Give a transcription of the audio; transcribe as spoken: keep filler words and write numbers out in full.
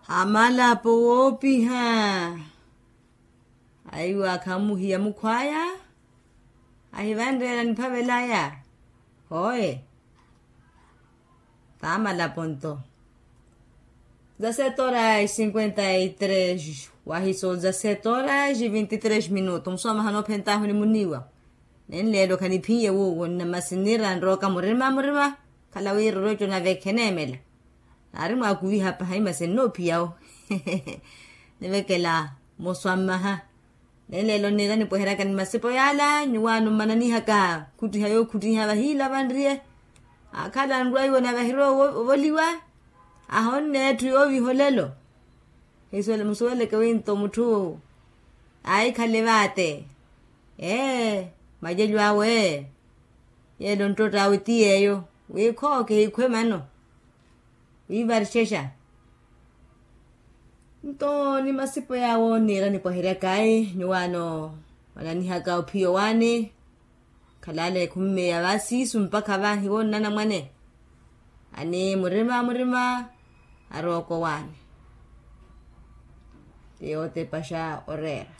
Amalapo woopiha. Aiwa akhamuhiya mukhwaya. Ahivanreela niphavelaya. Hooye. Vaamalapo nto. Dezasete horas cinquenta e três wahiso dezasete horas e vinte e três minuto musomaha noophentahu ni muniiwa. Nenleelo khaniphiye wuwo nna masi nniira nrooka murima murima. Khala wiiroroco nave kheneemela. Naari mwaakuviha pahayi masi nnoophiya wo. Nivekela moswa mmaha. Nenleelo nniira nipweheryaka ni masipo yaala nyuwaano mmananihaka khuttiha yookhuttiha vahiila vanriye. Akhala nrwaiwo nave ahirowa ovoliwa. Ahonne etthu yooviha olelo. Musuweleke winto mutthu aahikhale vaate. Ee, macelyo awe. Yeelo nttotta awe ti yeeyo. Wi khooke hikhwe mano. Wiivarixexa. Nto ni masipo yaawo nniira nipwaheryaka ayi nyuwaano mwananihaka ophiya owaani. Khalale khummeya va siisu mpakha vahiwo nnanamwane. Ani murima murima arooka owaani. Ti yootepaxa oreera.